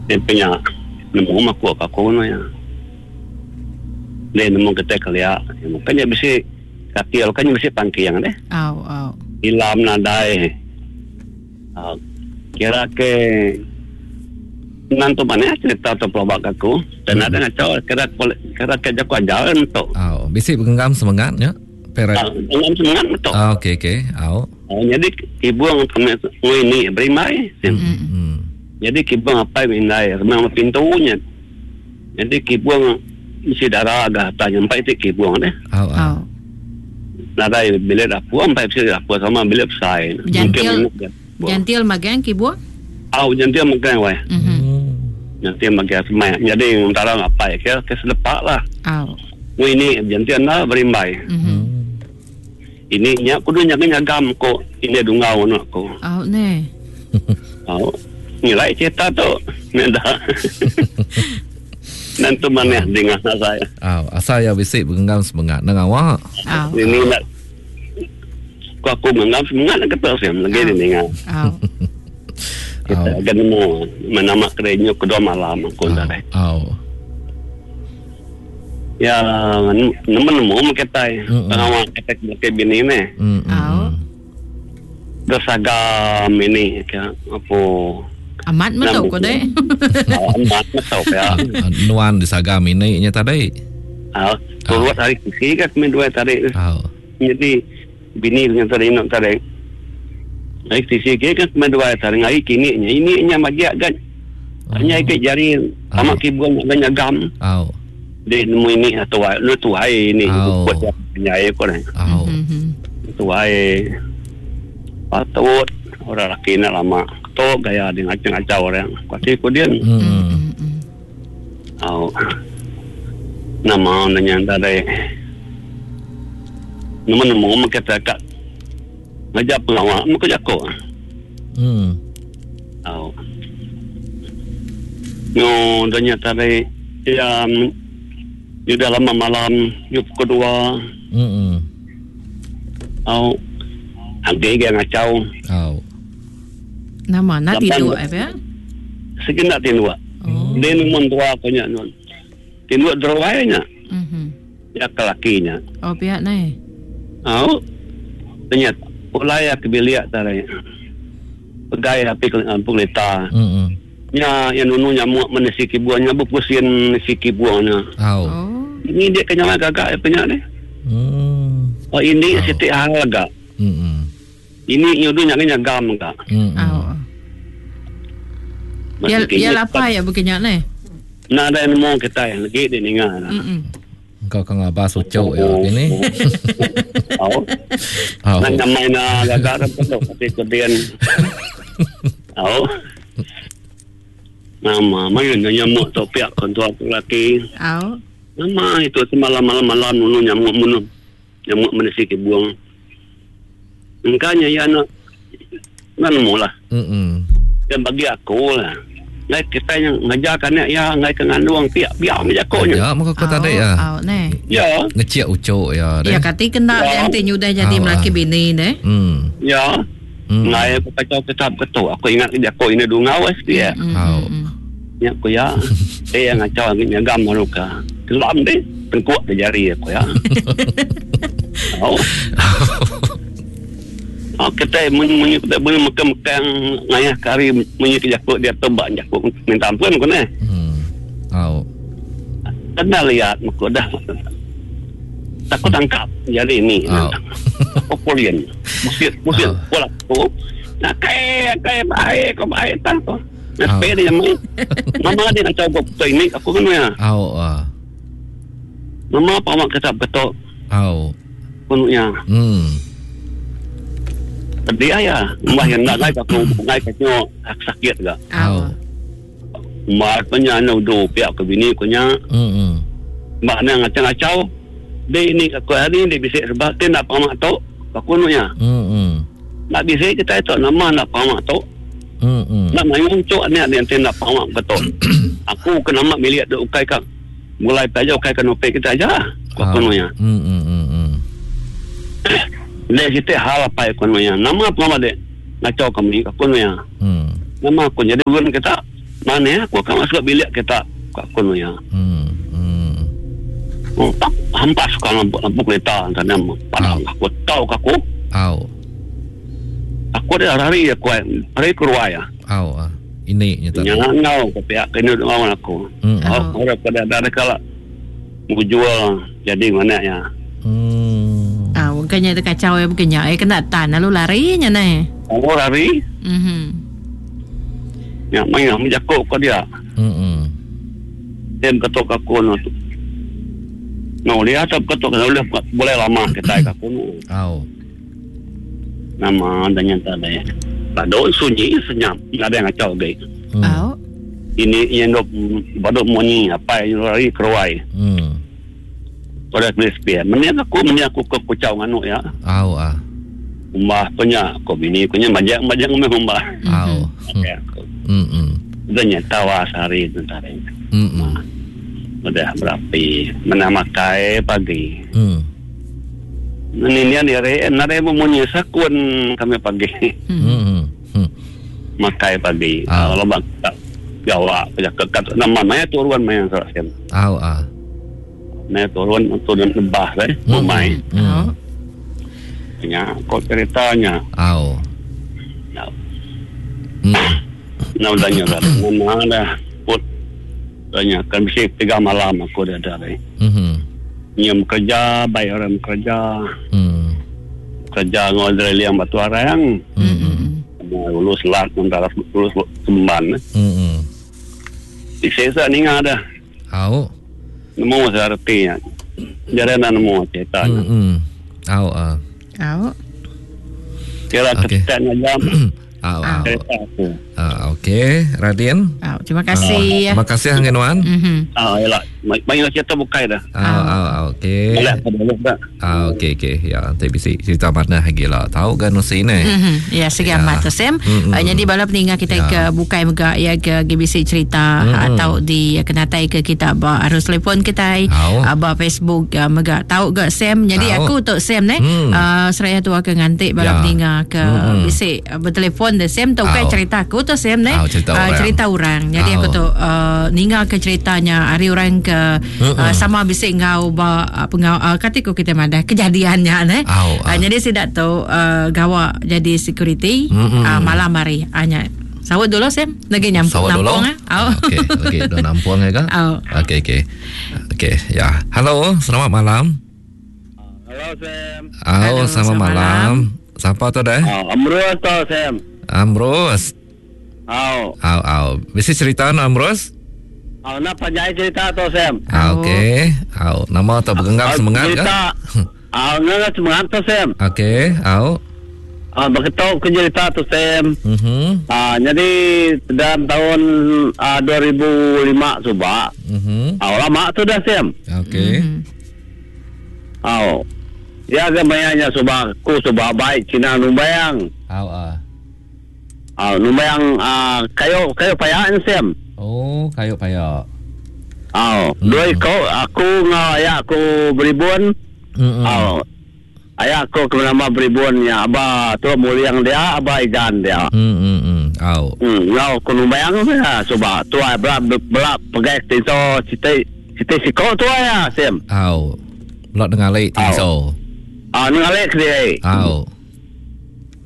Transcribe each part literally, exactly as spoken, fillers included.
Dia punya nemu aku aku no ya. Dia nemu kita kelia. Makanya bisi kaki kan bisi pangkiang deh. Au au. Ilam nadai. Uh, kira ke nantu mana cerita tu pelabak aku. Dan hmm. ada ngacau kira kira ke jaku ajar tu. Au, bisi genggam semangatnya. Perak. Uh, genggam semangat tu. Ah, okey okey. Au. Uh, jadi kibung kami ini berimai. Hmm. Hmm. Jadi kibung apa mindai remang pintunya. Jadi kibung mesti darah agak tanya empat itu kibung deh. Au au. Nadai bilik dapur empat mesti dapur sama bilik besar. Jantil. Jantil magang kibung? Au jantil magang weh. Mhm. Jantil magang semai. Jadi antara apa ya ke selepak lah. Au. Ini jantil na berimbai. Mhm. Ini nya kudu nya nyagam ko ini dungau nak ko. Au ne. Au. Nilai cerita tu nenda. Nanti mana dengar saya. Au, asal ya bisi genggam semangat nang awak. Au. Ini nak ku aku genggam semangat nak kata saya lagi ni dengar. Au. Kita akan nemu menama kerenyo kedua malam aku dah. Au. Ya, nemu nemu kita pengawal kita ke bini ni. Au. Bersagam ini ke apa amat metok ko deh. Amat metok ya. Nuan disagam ini nya tadi. Ah, turut hari kisi kan kami dua tadi. Ah. Jadi bini dengan tadi nak tadi. Hari kisi ke kan kami dua tadi ngai kini nya ini nya magiak kan. Hanya ikut jari amak kibung nak nyagam. Au. Dia nemu ini atau lu tuai ini buat nyai ko ni. Au. Tuai. Patut orang laki nak lama. Tok gaya dia ngacau-ngacau orang. Kuati ku dia. Hmm. Oh. Nama nanya tadi. Nama nemu kita kat ngajak pengawal muka jako. Hmm. Oh. Yo nanya tadi ya yo dah lama malam yo pukul dua. Hmm. Oh. Angge gaya ngacau. Oh. Nama nak tidur apa ya? Segenap tidur. Oh. Dia numun tua punya nun. Tidur derawainya. Mhm. Ya kelakinya. Oh pihak ni. Oh. Tanya ulai ke bilik tadi. Pegai api ke pelita. Mhm. Nya yang nunu nyamuk menesi kibuannya berpusing nesi kibuannya. Oh. Ini dia kena gagak apa nya ni? Hmm. Oh ini oh. Siti hal agak. Mhm. Ini nyudu nyak nyagam enggak. Mhm. Oh. Ya ya apa ya begini ni? Nah ada nemu kita yang lagi dia ninga. Mhm. Kau kang abah sucuk ya gini. Oh. Oh. Nak main gagak tu tapi kemudian. Oh. Nama main nyamuk tu pihak kontua laki. Oh. Nama itu semalam malam-malam nunu nyamuk munu. Nyamuk menesi ke buang. Engkanya ya nak nak nemu lah. Mhm. Dan bagi aku lah. Ngai kita yang ngajarkan ya ngai ke ngandung piak piak menjakonya. Ya maka kau tadi ya. Oh ne. Ya. Ngeciak ucuk ya. Ya kati kena yang ti nyudah jadi melaki bini ne. Hmm. Ya. Ngai aku kacau tetap ketu. Aku ingat jako ini dungau es dia. Oh. Ya aku ya. Eh yang ngacau angin nyagam maluka. Kelam deh tengkuak di jari aku ya. Oh. Oh, kita munyi kita boleh makan-makan ngayah kari munyi ke jakuk dia tebak jakuk minta ampun ko ne. Hmm. Oh. Kena lihat muka dah. Takut tangkap jadi ini. Oh. Popolian. Musir musir pola tu. Nak kai kai baik kau baik tak tu. Nak pe dia mai. Mama dia nak coba betul ini aku kan ya. Oh. Uh. Mama pamak kata betul. Oh. Penuhnya. Hmm. Dia ya, mbah yang nak ngai aku ngai katnya sakit gak. Oh. Mbah punya nak do pihak ke bini punya. Hmm. Mbah nak ngacau-ngacau. Dia ini aku hari ni dia bisik sebab dia nak pamak tok, aku nunya. Hmm. Nak bisik kita itu nama nak pamak tok. Hmm. Nak main cok ni ada yang nak pamak betul. Aku kena mak milik duk ukai kak. Mulai aja ukai kan opek kita aja. Aku nunya. Hmm hmm hmm. Dia cerita hal apa aku nunya. Nama apa nama dia? Ngacau kami aku nunya. Hmm. Nama aku jadi ulun kita Mana aku akan masuk bilik kita aku nu ya. Hmm. Hmm. Oh, tak hampas kan lampu, lampu kereta sana padang aku tahu aku. Au. Aku ada hari aku hari keluar ya. Au ah. Ini nyata. Jangan ngau ke pihak kena lawan aku. Hmm. Oh, orang pada ada kala mau jual jadi mana ya. Hmm. Ah, bukannya itu kacau ya bukannya. Eh kena tan lalu larinya nai. Oh lari. Mhm. Ya main aku jakok ke dia. Hmm. Dia ketuk aku no. No dia tak ketuk boleh boleh lama kita aku no. Au. Nama dan nyata ada. Baduk sunyi senyap, tak ada yang kacau lagi. Hmm. Au. Ini yang dok baduk bunyi apa yang lari keruai. Hmm. Pada beli sepia. Meni aku meni aku ke kucau nganu ya. Au ah. Umbah punya aku bini punya majak-majak ngomong umbah. Au. Ya. Hmm. Hmm. Udah nyata wah sehari bentar. Hmm. Udah berapi. Mana makai pagi. Hmm. Ini ni ni nare bunyi sakun kami pagi. Hmm. Hmm. Makai pagi. Ah. Kalau bang tak jawab kekat nama maya turun maya salah sem. Au ah. Maya turun turun lebah eh bumai. Hmm. Ya, kau ceritanya. Au. Ya. Hmm. Nah, tanya dah. Mana dah put tanya kan mesti tiga malam aku dah ada eh. Hmm. Nyam kerja, bayar orang kerja. Hmm. Kerja ngodre liang batu arang. Hmm. Lulus lat mentara lulus semban. Hmm. Disesa ni ada. Au. Nemu saya artinya. Jadi nak nemu ceritanya. Hmm. Au ah. Au. Kira Okey. ketan aja Au au. cerita aku. Ah, okey, Radin. Au, terima kasih. Terima kasih Hangenuan. Mhm. Ah, yalah. Banyak cerita bukai dah. Au au au okey. Boleh apa boleh dah. Ah okey okey. Ya, nanti bisi cerita mana lagi lah. Tahu kan usi ni. Mhm. Ya, segi Ya. amat tu Sam. Mm-mm. Uh, jadi bala peninggal kita Ya. ke bukai mega ya ke G B C cerita Mm-mm. atau di kenatai ke kita ba arus telefon kita Au. uh, ba Facebook uh, mega tahu ke Sam. Jadi Au. aku tu Sam ne Mm. uh, seraya tu akan ngantik bala Ya. peninggal ke Mm-mm. bisi uh, bertelefon de Sam tu kan Au. cerita aku tu Sam ne. Au, cerita Uh, orang. cerita orang. Jadi Au. aku tu uh, ninggal ke ceritanya hari orang ke uh, sama bisi ngau ba uh, pengau uh, katiku kita madah kejadiannya ne. Au, Uh, ah. jadi sidak tu uh, gawa jadi security Mm-mm. uh, malam hari hanya sawut dulu Sam lagi nyampung Sawat dulu. nampung ah. Au. Okey, okey, dah nampung ya kan? Au. Okey, okey. Okey, ya. Halo, selamat malam. Halo Sam. Au, Halo, selamat selamat malam. Siapa tu dah? Ah, Amrus tu Sam. Amros. Au. Au, au. Bisi cerita no Amros? Au nak panjai cerita tu Sam. Ah, okey. Au, nama tu bergenggam semangat ke? Cerita. Au nak semangat tu Sam. Okey, au. Ah, berketuk ke cerita tu Sam. Mhm. Ah, jadi dalam tahun ah, dua ribu lima subak. Mhm. Ah, lama tu dah Sam. Okey. Mhm. Au. Ya gambarnya subak ku subak baik Cina numbayang. Au ah. Ah, numbayang ah, kayu kayu payak ni Sam. Oh, kayu payak. Au, Hmm. dua ikut aku ngau ayah aku beribun. Mhm. Au. Ayah aku ke nama beribun ya aba tu muliang dia aba igan dia. Hmm, hmm, hmm. Au. Hmm, ngau aku numbayang ya subak tu ai belak belak pegai tiso siti siti siko tu ya Sam. Au. Lot dengan lek tiso. Ah, ni ngalek dia. Au.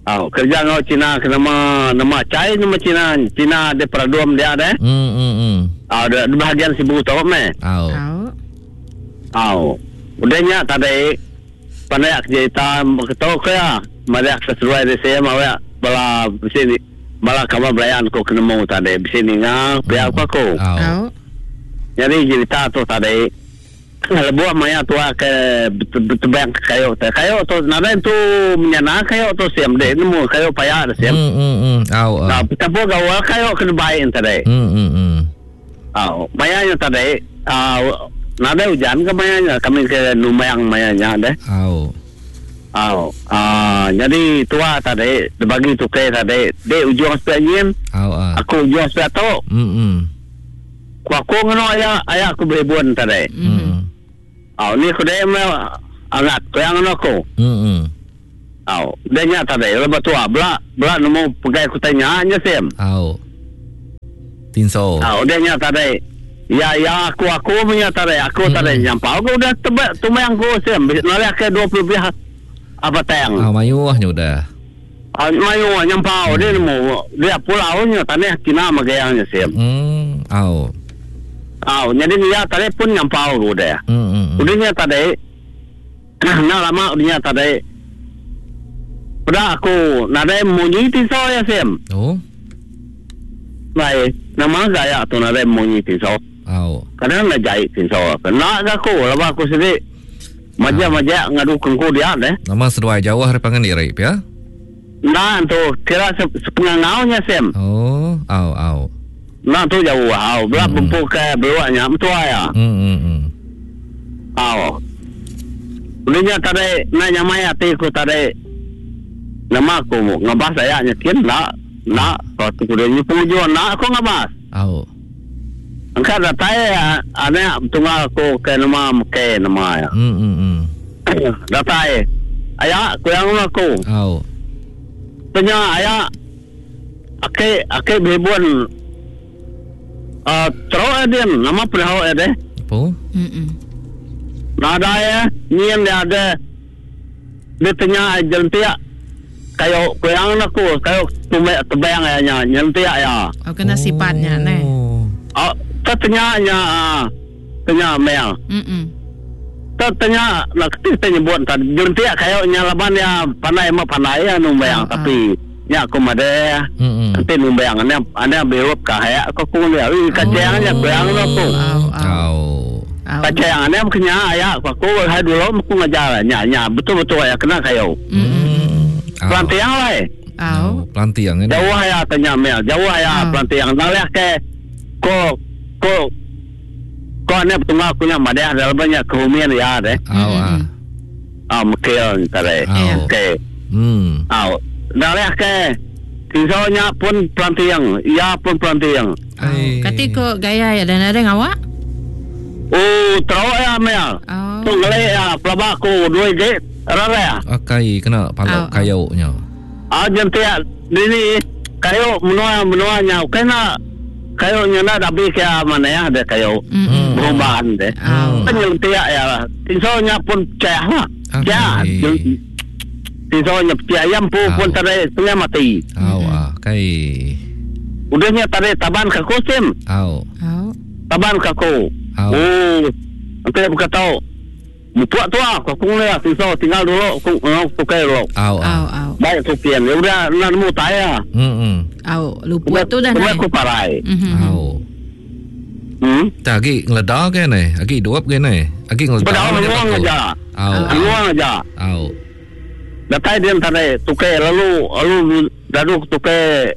Au, kerja ngau Cina ke nama nama cai nama Cina Cina dia peraduam dia ada. Hmm, hmm, hmm. Ah, di bahagian Sibu tu meh. Au. Au. Au. Udahnya tadi pandai aku cerita ketok ke ya. Mari aku sesuai di sini mau ya. Bala sini bala kamu belayan ko kena mau tadi sini ngah biar aku aku. Au. Au. Jadi cerita tu tadi lebuah maya tua ke tebang kayu tu kayu tu nada tu menyana kayu tu siam deh nemu kayu payah siam. Hmm, hmm, hmm. Au. Nah, ah. betapa gawa kayu kena baik tadi. Hmm, hmm, hmm. Ah, mayanya tadi ah nada hujan ke mayanya kami ke numayang mayanya deh. Au. Ah, ah jadi tua tadi dibagi tukai tadi de ujung sepian Au ah. aku ujung sepian tu Hmm, hmm. ku aku ngono ayah ayah aku beribun tadi. Hmm. Ah, ni aku deh me angat ku yang ngono aku. Hmm, hmm. Ah, dia nya tadi lepas tua bela bela nemu pegai ku tanya nya sem. Au. Tinso. Ah, udah nya tadi. Ya ya aku aku punya tadi. Aku hmm. tadi nyampau aku udah tebak tumang ku sim. Nalih ke dua puluh lebih apa tang. Ah, mayuh nya udah. Ah, mayuh nyampau hmm. dia nemu. Dia pulau nya tanah kina magayang nya sim. Hmm. Au. Au, jadi dia tadi pun nyampau aku udah. Hmm, hmm. Udah nya tadi. Nah lama udah nya tadi. Udah aku nadai munyi tinso ya sim. Oh. Baik, nama gaya tu nadai munyi tinso. Au. Kadang nak jahit tinso. Kena ke aku, lepas aku sendiri majak-majak ngadu kengku dia deh. Nama seduai jauh hari pangan diri, ya? Nah tu kira sepengangaunya sim. Oh, au au. Nah tu jauh au, belah hmm. bempu ke beluaknya betul ya. Hmm hmm hmm. Au. Udahnya tadi nak nyamai hati aku tadi. Nama aku ngabas saya nyakin nak nak kalau tu dia ni pengujuan nak aku ngabas. Au. Angkat datai anak tunggal aku ke nama ke nama ya. Hmm hmm hmm. Datai. Ayah aku yang aku. Au. Tanya ayah ake ake behibun uh, teruk adin nama perahu ade. Apa? Hmm. Nada ya, nien dia ada. Dia tanya jentiak kayu kuyang aku kayu tumek tebang ya nya jentiak ya. Oh kena sifatnya ne. Oh, tanya nya tanya mel. Hmm. Tanya nak kita nyebut tadi jentiak kayu nya laban ya pandai mah pandai ya numbang oh, tapi nya aku made. Nanti numbang ane ane berup ka ya aku ku dia kacang nya kuyang aku. Oh. Kacang ane kena ya aku aku hai dulu aku ngajar nya nya betul-betul ya kena kayu. Hmm. Pelantiang lah. Oh. Pelantiang ini. Jauh ya tanya mel, jauh ya pelantiang. Nalih ke ko ko ko ane tunggal aku nya made dalam banyak kehumian ya deh. Oh ah. Ah mekil tadi. Okey. Hmm. Ah, nalih ke tinsonya pun pelantiang, ya pun pelantiang. Kati ko gaya ya dan ada ngawak? Oh, teruk ya mel. Tu ngelek ya pelabak aku dua gate. Rara. Akai kena palak kayu nya. Ah jentiak ini kayu menua menuanya kena kayu nya nak habis ke mana ya ada kayu. Perubahan deh. Penyelentiak ya. Tinsonya pun cah lah. Cah. Tinsonya pecah ayam pun pun tarik setengah mati. Au ah kai. Udahnya tarik taban ke kusim. Au. Taban ke aku. Oh. Nanti aku tahu. Buat tu aku aku ni tinso tinggal dulu aku aku tukar dulu. Au au. Baik tu pian. Ya udah nak nemu taya. Hmm. Au lupa tu dah naik. Aku parai. Au. Hmm. Tak agi ngeledah ke ni? Agi hidup ke ni? Agi ngeledah. Bedau luang aja. Au. Luang aja. Au. Datai dia tadi tukar lalu lalu dadu tukar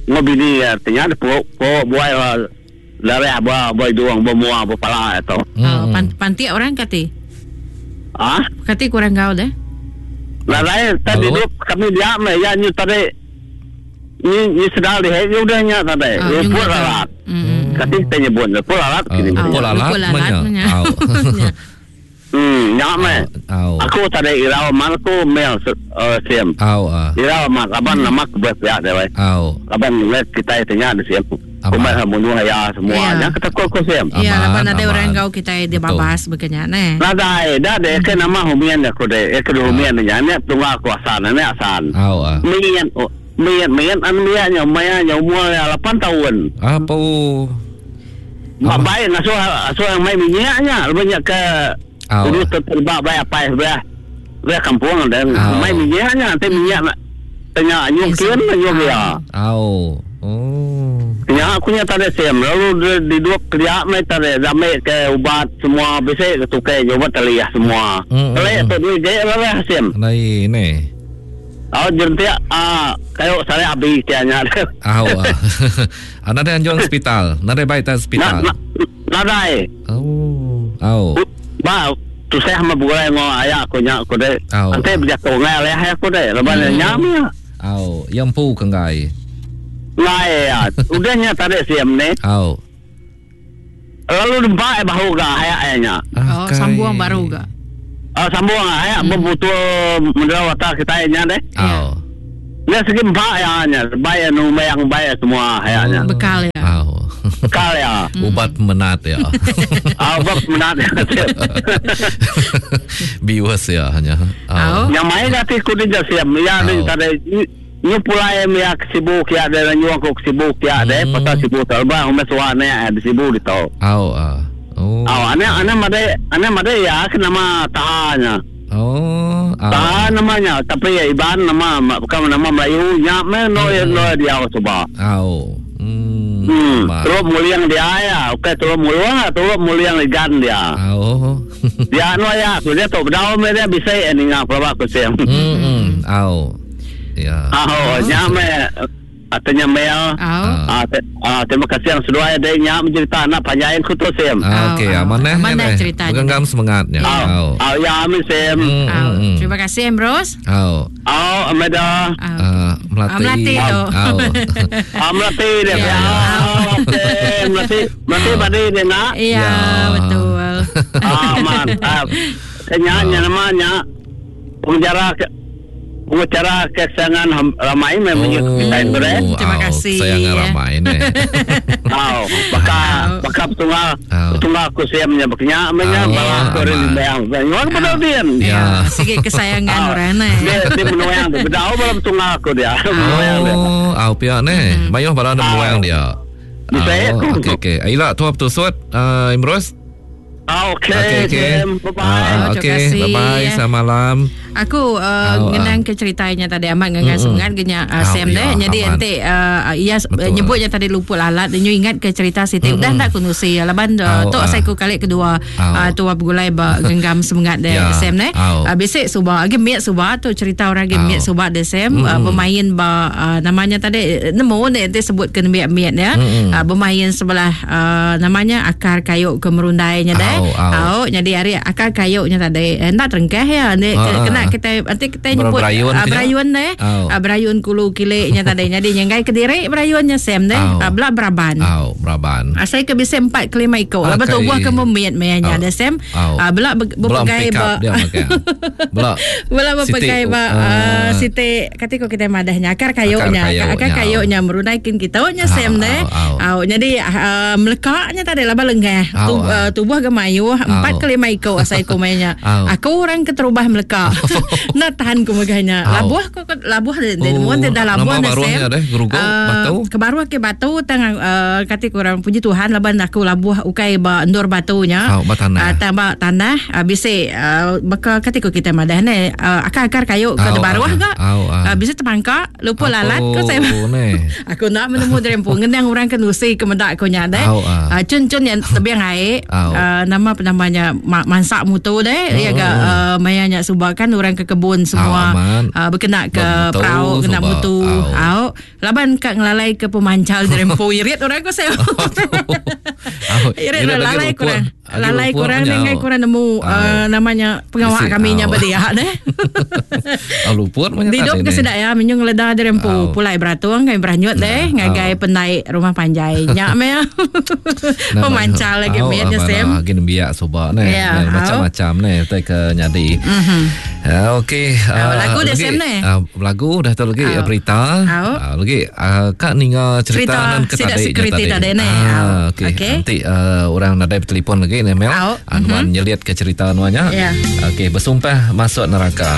ngobini artinya po po buai dari abah buai duang bermuah berpala itu. Oh, panti orang kati. Ah? Kati kurang gaul deh. Lalai tadi duduk kami diam ya ni tadi ni ni sedar deh ni udahnya tadi. Pun lalat. Kati kita nyebut pun lalat kini. Pun lalat mana? Hmm, nyak meh. Aku tadi irau man aku mel siam. Au ah. Irau man laban nama aku berpihak deh. Au. Laban let kita tanya di siam. Kumai bunuh ya semua. Nya kita kok kok siam. Iya, laban ada orang kau kita dia babas bekenya neh. Nadai, dah deh ke nama humian aku deh. Ke humian nya nya tunggal kuasa nya asan. Au ah. Mian mian mian an mian nya maya nya umur lapan tahun. Apa? Baik ngasuh asuh yang mai minyaknya banyak ke dulu terlibat bayar apa ya, bayar kampung dan main minyaknya, nanti minyak nak tanya nyukin, nyuk ya. Oh, oh. Ya aku nya tadi sem, lalu di dua kerja mai tadi ramai ke ubat semua bisa ke tukai ubat taliah semua. Tali tu dia je lah sem. Nai ni. Oh jentia ah kayu saya habis tianya. Ah, ah. Nada anjuang hospital, nada baik tak hospital. Nada. Oh, oh. Ba, tu saya sama burai ngo ayah aku nya aku deh. Nanti berjatuh ngai leh aku deh. Lepas ni nyam ya. Au, yang pu ke ngai. Ngai ya. Udahnya tadi siam ni. Au. Lalu dempak bahu ga ayah ayahnya. Oh, sambung baru ga. Ah, sambung ayah berbutuh menderawata kita nya deh. Au. Dia segi empat ya nya, bayar nu bayang bayar semua ayahnya. Bekal ya. Au. Bekal ya. Ubat menat ya. Ah, ubat menat. Bius ya hanya. Au. Yang main hati ku dia siap. Ya ni tadi nyu pulai ya ke Sibu kia ada nyu aku ke Sibu kia ada pasal Sibu terbang umeh suane di Sibu di tau. Au ah. Oh. Au ane ane made ane made ya ke nama tahanya. Oh, ah namanya tapi ya Iban nama bukan nama Melayu nya me no no dia coba. Au. Hmm. Hmm. Terus muliang dia ya. Okey terus muliang terus muliang ligan dia. Au. Dia no ya, dia tu bedau me dia bisa ini ngap pelabak ku siam. Hmm. Au. Ya. Au nya me atanya Mel. Au. Ah, terima kasih yang sudah ada nya mencerita anak panjain ku tu Sem. Ah, okey, amanah mana ceritanya. Genggam semangatnya. Au. Au ya amin Sem. Terima kasih Ambrose. Au. Au Amanda. Ah, Melati. Melati tu. Au. Ah, Melati dia. Okey, Melati. Melati badi dia nak. Ya, betul. Ah, mantap. Kenya namanya penjara pengacara kesayangan ramai memang oh, kita itu eh. Terima kasih. Kesayangan ramai ni. Oh, baka baka tunggal tunggal aku siamnya baknya menya bala korin bayang. Bayang betul dia. Ya, sikit kesayangan orang ni. Dia dia menuang dia. Bedau bala tunggal aku dia. Oh, au pia ni. Mayuh bala menuang dia. Okey okey. Aila tua betul Imros. Ah, okey, okey, okay. Bye-bye. Ah, okey, bye-bye. Selamat malam. Aku uh, oh, ngenang uh. ke ceritanya tadi amat ngenang mm-hmm. semangat genya uh, Sam oh, deh. Ya, jadi nanti uh, ia nyebutnya tadi luput lalat dan you ingat ke cerita Siti mm-hmm. udah tak kunusi laban uh, oh, tok uh. saya ku kali kedua oh. uh, tua bergulai ba genggam semangat deh yeah. Sam deh. Oh. Uh, besok subah agi miat subah tu cerita orang agi oh. miat subah deh Sam mm-hmm. uh, bermain ba uh, namanya tadi nemu deh nanti sebut ke miat-miat ya. Mm-hmm. Uh, bermain sebelah uh, namanya akar kayu ke merundainya deh. Oh, oh. Oh, jadi hari akar kayunya tadi hendak terengkeh ya. Ni ah, kena kita nanti kita nyebut berayun, uh, berayun deh. Oh. Uh, berayun kulu kiliknya tadi. Jadi nyenggai ke diri berayunnya Sam deh. Oh. Uh, belak beraban. Oh, beraban. Uh, saya ke bisa empat ke lima ekor. Ah, Lepas tu buah ke memit mayanya oh. Ada Sam. Oh. Uh, belak berpegai ba belak belak berpegai ba uh, siti kata ko kita madahnya akar kayunya. Akar, akar kayunya merunaikin kita nya Sam deh. Oh. Oh. Jadi uh, melekaknya tadi laba lengah. Oh. Uh, tubuh gemayuh empat ke lima ekor asai ku mainnya. Aku orang keterubah melekak. Nak tahan ku megahnya. Labuh ku labuh de de mun dah labuh dah sem. Batu. Ke baruh ke batu tang uh, kata kurang puji Tuhan laban aku labuh ukai ba endur batunya. Oh, ba tanah. Uh, tambah tanah uh, bisi uh, baka kata ku kita madah ne uh, akar-akar kayu ke oh, baruh ga. Oh, uh. Uh, bisa terpangkak lupa lalat ku saya. Aku nak menemu derempu ngendang orang ke nusi ke medak ku nya deh. Oh, uh. Uh, cun-cun yang tebiang air. Oh. Uh, nama namanya mansak mutu deh ya ga uh, mayanya subakan orang ke kebun semua oh, uh, berkena ke perahu kena mutu oh. Au laban ka ngelalai ke pemancal derempu irit orang ko saya. Irit lalai kurang lalai kurang dengan kurang nemu uh, namanya pengawak kami nya berdia deh. Oh, luput banyak hidup ke sedak ya menyung leda derempu pulai beratung kami beranyut deh ngagai penaik rumah panjai nyak me pemancal lagi miatnya Sam. Gini biak soba ne macam-macam ne tai ke nyadi. Okey, lagu dah Sam ne. Lagu dah tu lagi berita. Lagi kak ninga cerita nan ke tadi security tadi ne. Okey. Nanti orang nadai bertelefon lagi ne Mel. Anuan nyeliat ke cerita anuannya. Ya. Okey, bersumpah masuk neraka.